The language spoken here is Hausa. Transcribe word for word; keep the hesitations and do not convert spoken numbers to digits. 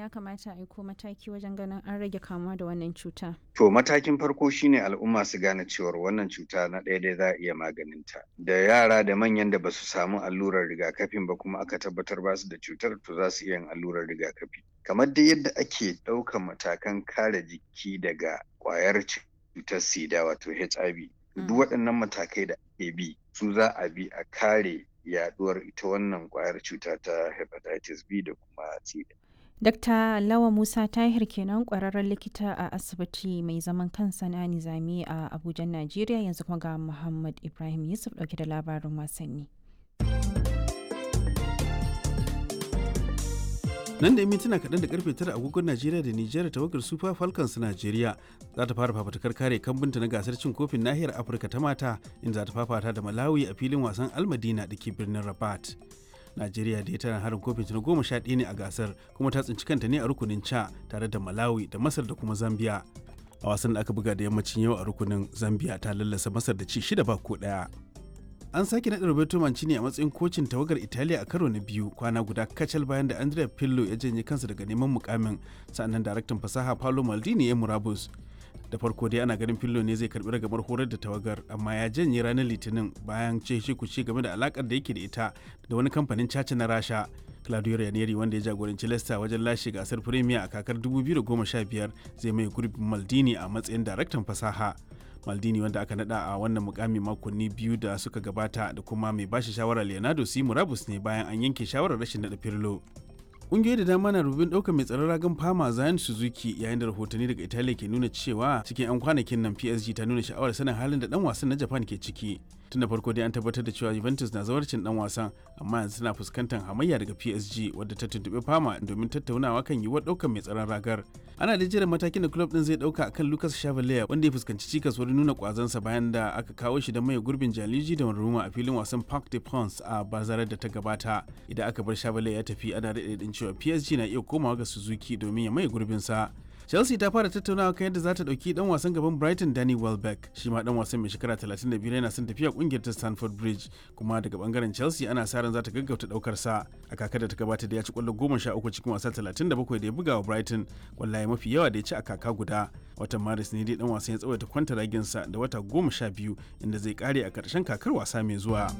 ya kamata a yi ko mataki wajen ganin an rage kamuwa da wannan cuta? To matakin farko shine al'umma su gane cewar wannan cuta na ɗaya dai za a iya maganinta. Da yara da manyan da basu samu allurar rigakafin ba kuma aka tabbatar ba su da cutar, to za su iya yin allurar rigakafi. Kamar dai yadda ake ɗaukan matakan kare jiki daga ƙwayar cutar sida wato H I V. Duk waɗannan matakai da ake bi su za a bi a kare yaɗuwar ita wannan ƙwayar cuta ta hepatitis B da kuma C. Dakta Lawa Musa Tahir kenan, kwararren likita a asibiti mai zaman kansa na Nizami a Abuja, Najeriya. Yanzu kuma ga Muhammad Ibrahim Yusuf dauke da labarin wasanni. Nan da mintuna kaɗan da karfe tara agogon Najeriya da Nijar, tawagar Super Falcons Najeriya za ta fara fafutukar kare kambunta na gasar cin kofin nahiyar Afirka ta mata, inda za ta fafata da Malawi a filin wasan Almadina da ke birnin Rabat. Najeriya da tana harin kofin ta na goma sha ɗaya ne a gasar, kuma ta tsinci kanta ne a rukunin ca tare da Malawi da Masar da kuma Zambia. A wasan da aka buga da yammacin yau a rukunin, Zambia ta lallasa Masar da ci shida ba ko ɗaya. An sake naɗa Roberto Mancini a matsayin kocin tawagar Italiya a karo na biyu, kwana guda kacal bayan da Andrea Pirlo ya janye kansa daga neman mukamin, sannan daraktan fasaha Paolo Maldini ya murabus. Da farko dai ana ganin Pirlo ne zai karbi ragamar horar da tawagar, amma ya janye ranar Litinin bayan ce kuce game da alakar da yake da ita da wani kamfanin caca na Rasha. Claudio Ranieri, wanda ya jagoranci Leicester wajen lashe gasar Premier a kakar dubu biyu da goma sha biyar, zai mai gurbin Maldini a matsayin daraktan fasaha. Maldini, wanda aka nada a wannan mukami makonni biyu da suka gabata, da kuma mai bashi shawara Leonardo C murabus ne bayan an yanke shawarar rashin nada Pirlo. Ƙungiyoyi da dama na rubin ɗaukar mai tsaron ragan Fama Zion Suzuki, yayin da rahotanni daga Italiya ke nuna cewa cikin 'yan kwanakin nan P S G ta nuna sha'awar sanin halin da dan wasan na Japan ke ciki. Tun da farko dai an tabbatar da cewa Juventus na zawarcin dan wasan, amma yanzu tana fuskantar hamayya daga P S G, wadda ta tuntuɓi Fama domin tattaunawa kan yiwuwar ɗaukar mai tsaron ragar. Ana da jiran matakin da club din zai ɗauka akan Lucas Chevalier, wanda ya fuskanci cikas wurin nuna kwazansa bayan da aka kawo shi da mai gurbin Gianluigi Donnarumma a filin wasan Parc des Princes a bazarar da ta gabata. Idan aka bar Chevalier ya tafi, ana daɗe cewa P S G na iya komawa ga Suzuki domin ya maye gurbinsa. Chelsea ta fara tattaunawa kan yadda za ta ɗauki ɗan wasan gaban Brighton Danny Welbeck. Shi ma ɗan wasan mai shekara talatin da biyar yana son tafiya ƙungiyar ta Stamford Bridge, kuma daga bangaren Chelsea ana sa ran za ta gaggauta ɗaukar sa. A kakar da ta gabata da ya ci ƙwallo goma sha uku cikin wasa talatin da bakwai da ya buga wa Brighton, ƙwallaye mafi yawa da ya ci a kaka guda. Watan Maris ne dai ɗan wasan ya tsawaita kwantaraginsa da wata goma sha biyu, inda zai kare a ƙarshen kakar wasa mai zuwa.